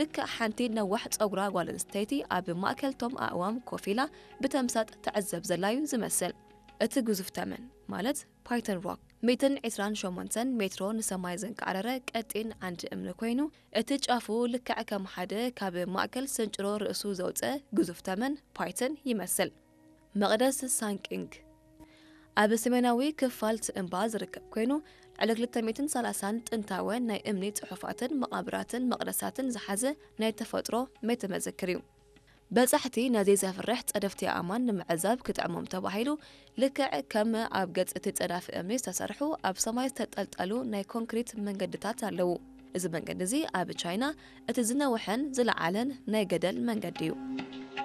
ልክዕ ሓንቲ ነዋሕ ጸጉራ ጓል ኣንስተይቲ ኣብ ማእከል ቶም ኣእዋም ኮፍ ኢላ ብተምሳጥ ትዕዘብ ዘላዩ ዝመስል። እቲ ግዙፍ ተመን፣ ማለት ፓይተን ሮክ፣ ሚእትን ዕስራን ሸሞንተን ሜትሮ ንሰማይ ዘንቃዕረረ ቀጢን ዓንዲ እምኒ ኮይኑ፣ እቲ ጫፉ ልክዕ ከም ሓደ ካብ ማእከል ስንጭሮ ርእሱ ዘውጸ ግዙፍ ተመን ፓይተን ይመስል። መቕደስ ሳንቂንግ ኣብ ሰሜናዊ ክፋል እቲ እምባ ዝርከብ ኮይኑ፣ ልዕሊ ክልተ ሚእትን ሰላሳን ጥንታውያን ናይ እምኒ ጽሑፋትን መቓብራትን መቕደሳትን ዝሓዘ ናይ ተፈጥሮ ቤተ መዘክር እዩ። በጻሕቲ ነዚ ዘፍርሕ ጸደፍቲ ኣእማን ንምዕዛብ ክጥዕሞም ተባሂሉ፣ ልክዕ ከም ኣብ ገጽ እቲ ጸዳፊ እምኒ ዝተሰርሑ ኣብ ሰማይ ዝተጠልጠሉ ናይ ኮንክሪት መንገድታት ኣለዉ። እዚ መንገዲ እዚ ኣብ ቻይና እቲ ዝነውሐን ዝለዓለን ናይ ገደል መንገዲ እዩ።